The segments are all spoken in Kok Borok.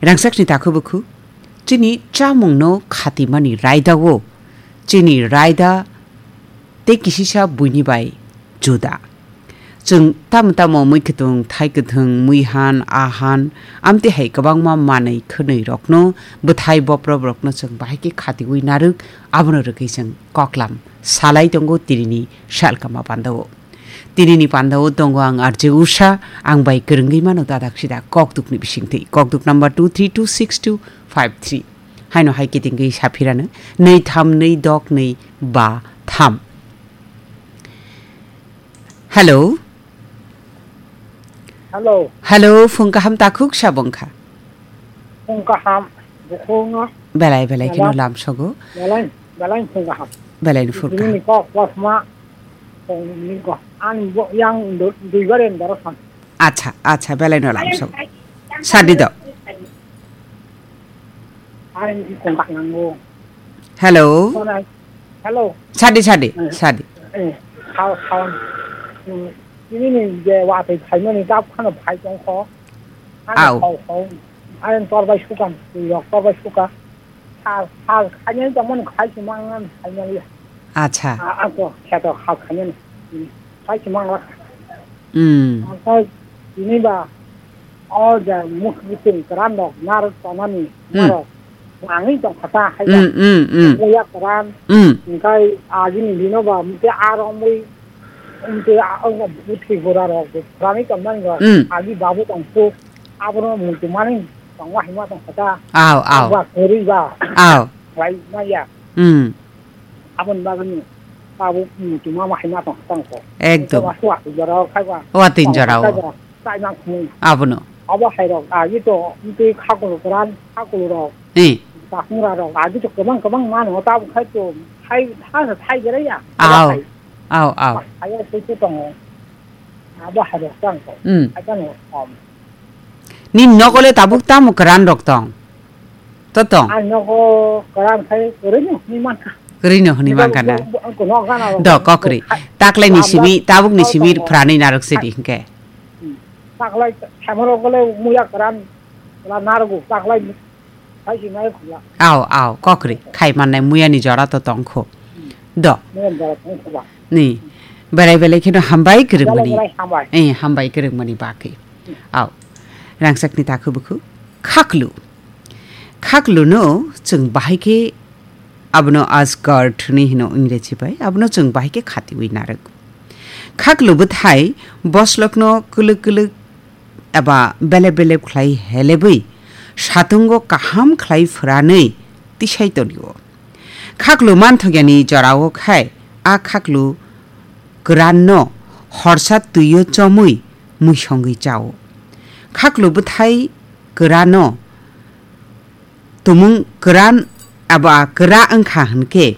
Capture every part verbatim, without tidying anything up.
Rangchakni takhuk bukhuk, chini chamungno khatimani raidao, chini raida tei kisisa buini bai juda. Chwng tamo tamo mui kwthwng, thai kwthwng, mui han, a han, amtwi hai kwbangma manwi khwnwi rokno, bwthai boprok rokno chwng bahai khe khatiwi narwk, abono rwgwi chwng koklam salai tongo tinini salkama pandao. Tinini pandao tongo ang R J Usha, ang bai kwrwngwi mano dadak sida kokdukni bisingtwi. Kokduk number two three two six two five three. Haino hai kitingwi saphirano, nui tham nui dok nui ba tham. Hello. Hello. Hello, phung kaham takhuk sabong kha. Phung kaham, bukhungo. Belai belai kheno Belai. Lamsogo. Belai, belai phung kaham. Belai ni phung kaham. Ini kok kosma, phung ni kok. An bo yang du-, dui bar yang doro san. Acha, acha, belai no lamsogo. Sadi do. Ai, kong kak nango. Hello. Hello. Sadi, sadi, eh, sadi. Eh, khao, khao. Hmm, ini ni je watwi phaimani kap khano phai tong kho. Ano Au. Khao, khao. Ai, tor bai suka, yok tor bai suka. Sal, sal, khainai tongmani khai si mangan, khainai. Acha. A, ako, kheto khao khainani. Hmm, khai si mangan. Hmm. Ang khai, ini ba, O ja muk biting kwran rok narwk tonani Hmm. Norok nangwi tong kha ta hai Hmm, hmm, hmm. Muya kwran Hmm. Hingkai agini bino ba mte a rongwi mte a buthi bura rok kwranwi tong mani ba Hmm. Agi babu tong su abono muitu mani tong wa hima tong kha ta. Aw, aw. Ba kwrwi ba. Aw. Bai maya. Hmm. Aboni bagwi tabuk, mm, tuma ma hai ma tong tong kho. Ekdom. Tuma suwa twi jora o khai ba. Wa twi jora o. Khai ba, tai mang khumui. Abono. Abo hai rok, agi to, mtwi khakulu kwran, khakulu rok. Eh. Takhungra rok, agi to kwbang kwbang mano, tabuk khai to, khai, khai, khai jera ya. Aw. Khai. Aw, aw. Khai ya twi twi tongo. Abo hai rok tong kho. Mm. Khai tong kho. Ni nokole tabuk tamo kwran rok tong? To tong. Ang nogo kwran khai kwrwino hwnwi mankha. Kwrwino hwnwi mankha na? Bo, bo, bo, no gana Do, kokri. Taklai ni simi, tabuk ni simi phranwi narwk se di hwnkhe. Hmm. Taklai thamoro gole muya kwran, la narwgo, taklai khai si nai khula. Aw, aw, kokri. Khai mannai muya ni jora to tong kho. Hmm. Do. Muya ni jora tong kho ba. Ni. Belai belai kheno hambai kwrwng mani. Belai belai hambai. Eh, hambai kwrwng mani bagwi. Aw. Rangchak ni takhuk bukhuk. Khaklu. Khakluno chwng bahai khe abono Asgard hwnwi hino Ingreji bai, abono chwng bahai khe khatiwi narwk. Khaklu bwthai boslokno kwlwk kwlwk eba belep belep khlai helebwi satungo kaham khlai phwranwi tisai tonio. Khaklu manthokya ni jorao khai a khaklu kwran no horsa twio chomwi muisongwi chao. Khaklu bwthai kwrano tumung kwran abo a kwra wngkha hwnkhe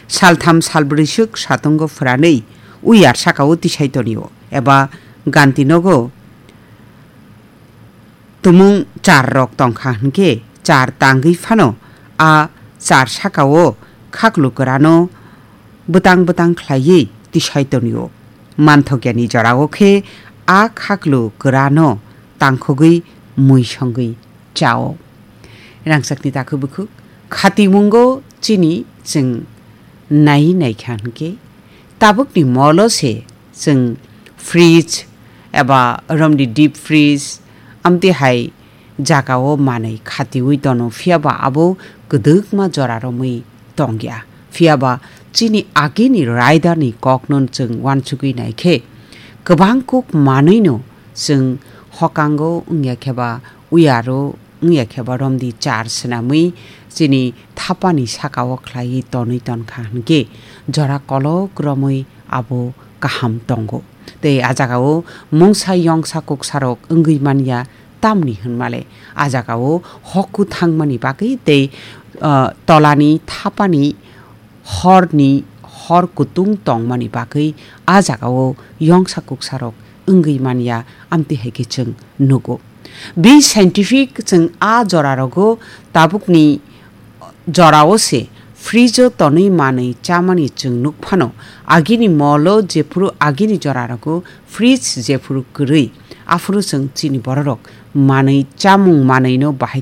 saltham salbrwi swk satungo phwranwi uyar sakao tisai tonio eba ganti nogo tumung char rok tongkha hwnkhe char tangwi phano a char sakao khaklu kwrano bwtang bwtang khlaiwi tisai tonio. Manthokya ni jorao khe a khaklu kwrano tangkhogwi mui songwi chao. Rangchakni takhuk bukhuk khatimungo chini chwng nai naikha hwnkhe tabukni molo se chwng fridge eba romni deep freeze amtwi hai jagao manwi khatiwi tono, phiyaba abo kwdwkma jora romwi tongya. Phiyaba chini agini raidani kokno chwng uansugwi naikhe, kwbang kuk manwino chwng hokango wngya kheba, uyaro wngya kheba romdi char swnamwi chini thapani sakao khlaiwi tonwi tonkha hwnkhe, jora kolok romwi abo kaham tongo. Tei a jagao mungsa yongsa kuksarok wngwi manya, tamni hwnmale a jagao hokhu thangmani bagwi tei, ah, tolani thapani horni hor kutung tongmani bagwi a jagao yongsa kuksarok wngwi manya, amtwi hai khe chwng nugo. Be scientific, chwng a jorarogo tabukni jorao se fridge-o tonwi manwi chamani chwng nuk phano, agini molo jephuru agini jorarogo fridge jephuru kwrwi, aphuru chwng chini bororok manwi chamung manwino bahai